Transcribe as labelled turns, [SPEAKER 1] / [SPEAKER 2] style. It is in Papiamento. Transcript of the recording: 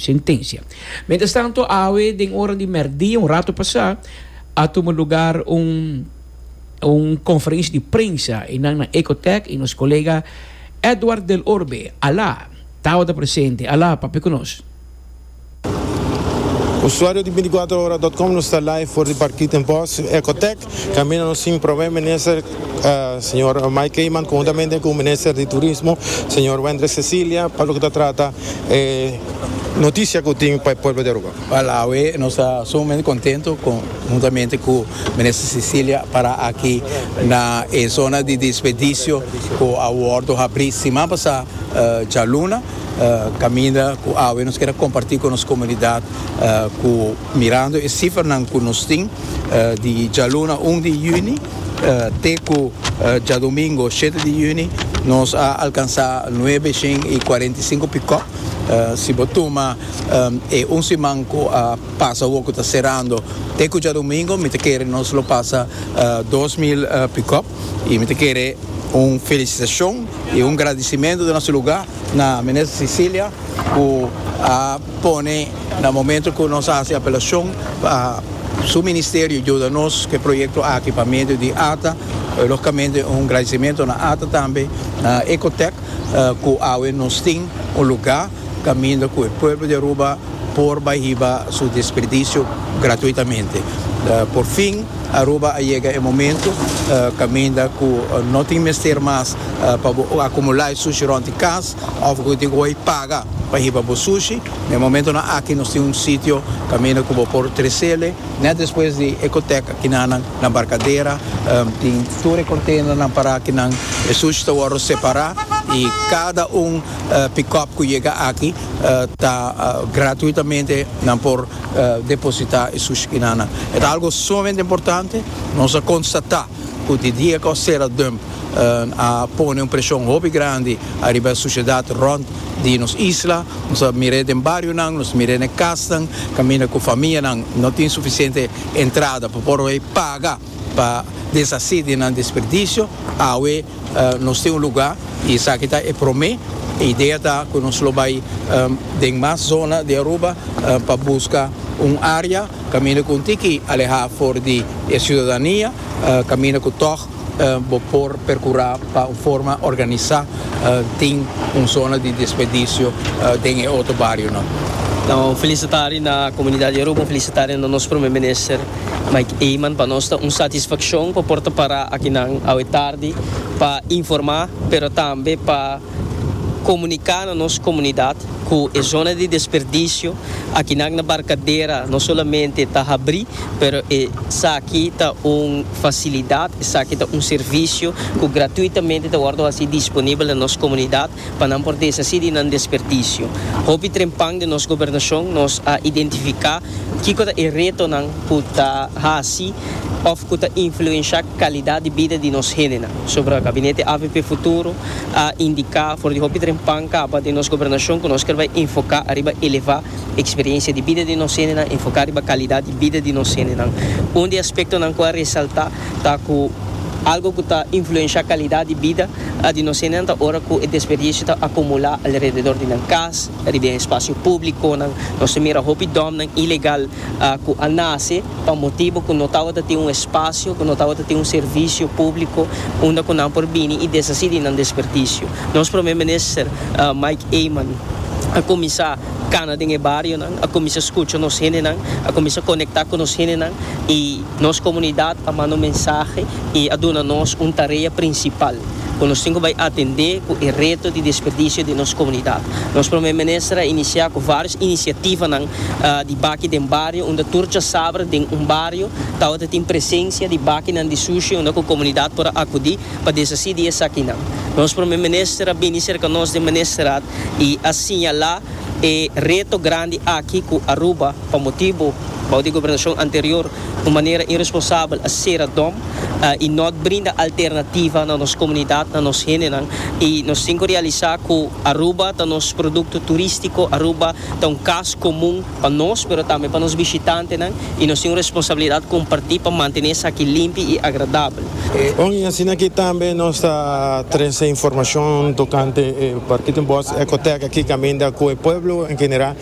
[SPEAKER 1] sentencia. Mientras tanto awe den ora di merdia un rato pasa a tuma lugar un un conferencia di prensa einan na Ecotech y nos colega Edward del Orbe, Alá, tabata presente. Alá, papia cu nos.
[SPEAKER 2] Usuario di 24ora.com, nos ta live for di Parkietenbos Ecotech. Caminda nos tin Prome Minister señor Mike Eman conhuntamente cu Minister di Turismo señor Wendrick Cecilia pa loke ta trata e noticia cu tin pa e pueblo di Aruba.
[SPEAKER 3] Wel awe nos ta sumamente contento conhuntamente cu Minister Cecilia para aki na e zona di desperdicio cu a wordo habri siman pasa djaluna. Caminda cu awe nos kier a comparti cu nos comunidad cu mirando e cifranan cu nos tin di djaluna 1 di juni te cu djadomingo 7 di juni nos a alcansa 945 pick-up. Si bo tuma e un siman cu a pasa awor cu ta cerando te cu djadomingo mi ta kere nos lo pasa 2000 pick-up y mi ta kere un felicitacion y un gradicimento den nos lugar na Minister Cecilia cu a pone na momento cu nos a haci apelacion pa su ministerio yuda nos cu e proyecto aki pa medio di ata. Logicamente un gradicimento na ata tambe, na Ecotech cu awe nos tin un lugar caminda cu e pueblo di Aruba por bay hiba su desperdicio gratuitamente. Por fin Aruba a yega e momento caminda cu no tin mester mas pa bo acumula e sushi rond di cas of cu tin cu bay paga pa hiba bo sushi. Na e momentonan aki nos tin un sitio caminda cu bo por trecele net despues di Ecotec akinanan na Barcadera tin tur e containernan para akinan e sushi ta wordo separa y cada un pick-up cu yega aki ta gratuitamente nan por deposita e sushi kinanan. E ta algo sumamente importante. Nos a constata cu di dia cu a cera dump a pone un presion hopi grandi ariba e sociedad rond di nos isla. Nos a mir'e den barionan, nos a mir'e den casnan caminda cu famianan no tin suficiente entrada pa por bay paga pa deshaci di nan desperdicio. Awe nos tin un luga y esaki ta e prome. E idea ta cu nos lo bay den mas zona di Aruba pa busca un area caminda cu un tiki aleha for di e ciudadania, caminda cu tog bo por percura pa un forma organisa tin un zona di desperdicio den e otro barionan.
[SPEAKER 4] Un felicitari na comunidad di Aruba, un felicitari na nos Prome Minister Mike Eman. Pa nos ta un satisfaccion pa por ta para akinan awe tardi pa informa pero tambe pa comunica na nos comunidad cu e zona di desperdicio akinan na Barcadera no solamente ta habri pero esaki ta un facilidad, esaki ta un servicio cu gratuitamente ta wordo haci disponibel na nos comunidad pa nan por deshaci di nan desperdicio. Hopi trempan den nos gobernacion nos a identifica kico ta e retonan cu ta haci of cu ta influencia calidad di bida di nos hendenan. Sobra Gabinete avp Futuro a indica for di hopi trempan caba den nos gobernacion cu nos kier bay enfoca ariba eleva experiencia di bida di nos hendenan, enfoca riba calidad di bida di nos hendenan. Un di e aspectonan cu a resalta ta cu algo cu ta influencia calidad di bida di nos hendenan ta ora cu e desperdicio ta acumula alrededor di nan cas, riba e espacio publiconan. Nos ta mira hopi domnan ilegal cu a nace pa motibo cu no tabata tin un espacio, cu no tabata tin un servicio publico unda cu nan por bini y deshaci di nan desperdicio. Nos Prome Minister Mike Eman a cuminsa cana den e barionan, a cuminsa scucha nos hendenan, a cuminsa conecta cu nos hendenan y nos comunidad a manda un mensahe y a duna nos un tarea principal cu nos tin cu bay atende cu e reto di desperdicio den nos comunidad. Nos Prome Minister a inicia cu varios iniciativanan di baki den bario unda tur djasabra den un bario tabata tin presencia di bakinan di sushi unda cu comunidad por a acudi pa deshaci di esakinan. Nos Prome Minister a bini cerca nos den Ministerraad y a señala e reto grandi aki cu Aruba pa motibo bao di gobernacion anterior un manera irresponsabel a cera dom y not brinda alternativa na nos comunidad, na nos hendenan y nos tin cu realisa cu Aruba ta nos producto turistico, Aruba ta un cas comun pa nos pero tambe pa nos bishitantenan y nos tin un responsabilidad comparti pa mantene esaki limpi y agradabel.
[SPEAKER 2] Bon, y asina aki tambe nos ta trece informacion tocante e Parkietenbos Ecotech aki caminda cu e pueblo en general.